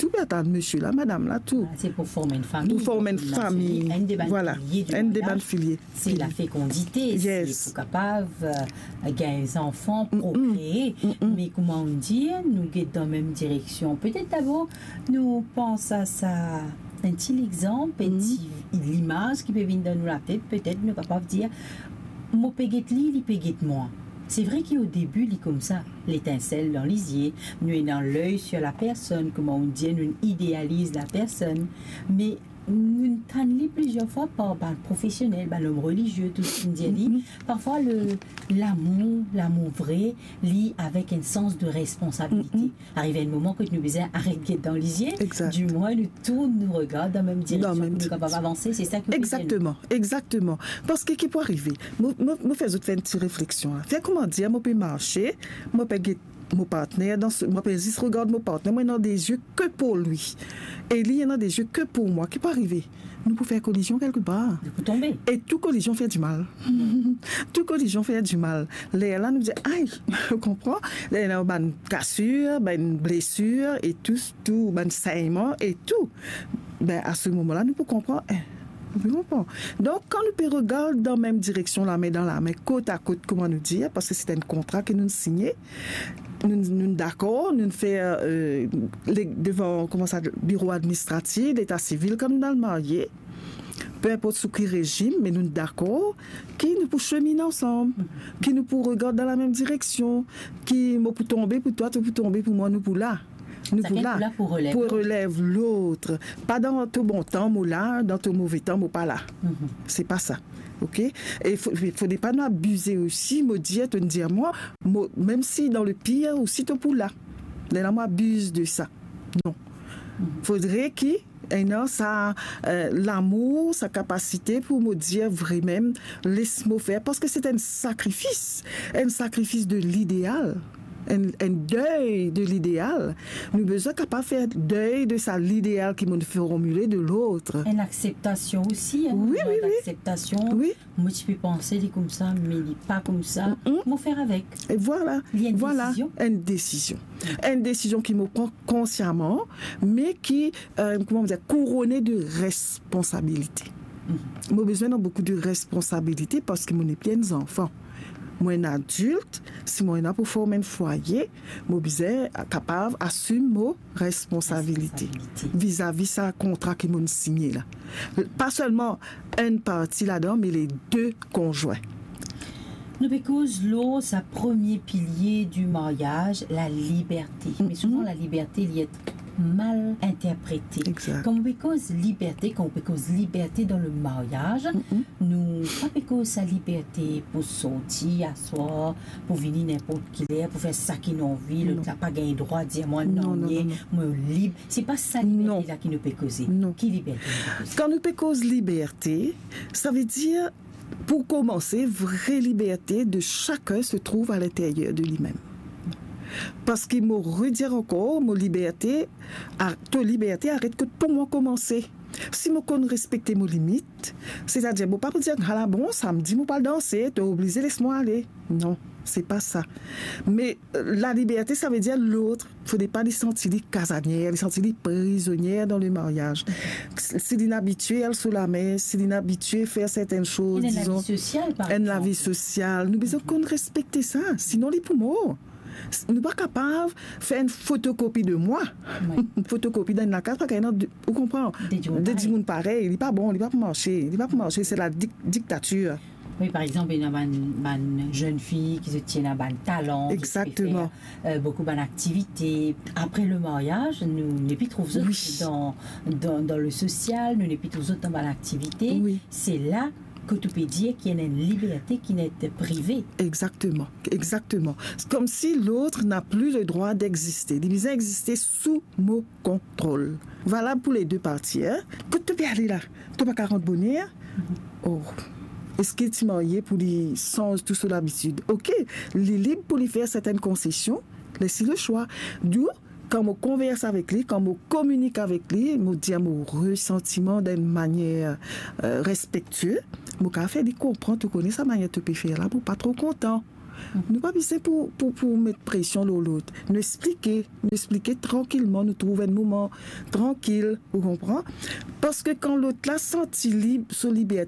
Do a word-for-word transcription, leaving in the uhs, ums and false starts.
Ou pe atann misie la, madam la, tou. Vwala, se pou form enn fami. Pou form enn fami. Enn de bann pilie di maryaz, enn de bann pilie. Se lafekondite, se pou kapav, euh, gagn zanfan, prokree. Me kouma ou dir, nou get dan mem direksion. Petet dabor, nou pans a sa, enn ti lexanp, enn ti limaz ki pe vinn dan nou latet, petet nou kapav dir, mo pe get li, li pe get mwa. Se vre ki o debi, li koumsa, letinsel dan lizie, nou ena ley sir lapersonn, kouma ou dir, nou idealiz lapersonn, me nou tann li plizier fwa par bann profesionel, bann lom relizie, tou seki dir li. Parfwa, le, lamour, lamour vre, li avek enn sans de responsabilite. Ariv enn moman kot nou bizin aret get dan lizie, dimwin nou tourn nou regard dan mem direksion pou nou kapav avanse, se sa ki ou pe dir nou. Egzakteman, egzakteman. Parski ki pou arive? Mo, mo, mo fer zot fer enn ti refleksion la. Fer kouma dir, mo pe marse, mo pe get mo partner, dan se, mo pe zis regard mo partner, mo ena de zie ke pou li. E li ena de zie ke pou mwa. Ki pou arive? Nou pou fer kolizion kelkepar. Nou pou tonbe. E tou kolizion fer dimal. Tou kolizion fer dimal. Lerla nou dir, ay, ou konpran? Lerla bann kasir, bann blesir, e tou, tou bann senyman, e tou. Be, a se moman la, nou pou konpran, eh, nou pou konpran. Donk, kan nou pe regard dan mem direksion, lame dan lame, kot a kot, kouma nou dir, parski se enn kontra ke nou signe, nou, nou dakor, nou fer, euh, le, devan, kouma sa, biro administratif, leta sivil, kan nou al marye, pe inport sou ki rezim, me nou dakor ki nou pou seminn ansam, ki nou pou regard dan lamem direksion, ki mo pou tonbe pou twa, to pou tonbe pou mwa, nou pou la. Nou pou la, pou relev lot. Pa dan to bon tan, mo la, dan to move tan, mo pa la. Se pa sa. Ok? E fo-, fode pa nou abize osi, mo dir, to dir mwa, mo, mem si dan le pir osi, to pou la. Lerla mo abiz de sa. Non. Fodre ki ena sa, euh, lamour, sa kapasite pou mo dir vremem, les mo fer, parski se enn sakrifis, enn sakrifis de lideal, enn, enn dey de lideal. Nou bizin kapav fer dey de sa lideal ki mo'nn formile de lot. Enn akseptasion osi, enn moman dakseptasion. Wi, wi, wi. Mo ti pe panse li koumsa, me li pa koumsa. Mo fer avek. E vwala. Li enn desizion. Enn desizion. Enn desizion ki mo pran konsiaman, me ki, euh, kouma mo dir, kourone de responsabilite. Mo bizin ena boukou de responsabilite parski mo nepli enn zanfan. Mo enn adilt, si mo ena pou form enn fwaye, mo bizin kapav asim mo responsabilite. Responsabilite. Vizavi sa kontra ki mo'nn signe la. Pa selman enn parti ladan, me le de konzwin. Nou pe koz lor sa premie pilie di maryaz, laliberte. Me souvan, laliberte, li et mal interprete. Exact. Kan ou pe koz liberte, kan ou pe koz liberte dan le maryaz, nou pa pe koz sa liberte pou sorti aswar, pou vini ninport ki ler, pou fer sa ki nou anvi, lot la pa gagn drwa dir mwa non, non, non, mo lib. Se pa sa liberte la ki nou pe koze. Non. Ki liberte nou pe koze? Kan nou pe koz liberte, savedir, pou koumanse, vre liberte de sakenn se trouv a linteryer de limem. Parski mo redir ankor, mo liberte, a, to liberte aret kot pou mwa koumanse. Si mo konn respekte mo limit, setadir, mo pa pou dir, "Ala bon, samdi mo pou al danse, to oblize les mwa ale." Non, se pa sa. Me, euh, laliberte, savedir lot, fode pa li santi li kazanier, li santi li prizonier dan le maryaz. Si li inn abitie al sou lamer, si li inn abitie fer sertenn soz, dizon, enn lavi sosial, par egzanp. Enn lavi sosial, nou bizin konn respekte sa, sinon li pou mor. Nou pa kapav fer enn fotokopi de mwa. Wi. Fotokopi dan enn lakaz, pa kapav ena de, ou konpran? De dimoun parey. De dimoun parey, li pa bon, li pa pou marse, li pa pou marse, se la dik-, diktatir. Wi, par egzanp, ena bann, bann zenn fi ki zot ti ena bann talan, ki ti pe fer, euh, boukou bann aktivite. Apre le maryaz, nou nepli trouv zot dan, dan, dan le sosial, nou nepli trouv zot dan bann aktivite. Wi. Se la kot ou pe dir ki ena enn liberte ki ena ete prive. Exactement, exactement. C'est comme si l'autre n'a plus le droit d'exister. Li bizin egziste sou mo kontrol. Valab pou le de parti, hein. Kot to pe ale la? To pa kapav rant boner? Oh. Eski ti marye pou li sanz tou so labitid? Ok, li lib pou li fer sertenn konsesion, les li le swa. Donk, kan mo konvers avek li, kan mo kominik avek li, mo dir mo resantiman dan enn manier, euh, respektie, mo kapav fer li konpran, to kone sa manier to pe fer la, mo pa tro kontan. Nou pa bizin pou, pou, pou met presyon lor lot. Nou explike, nou explike trankilman, nou trouv enn moman trankil, ou konpran? Paske kan lot la santi li, so liberté,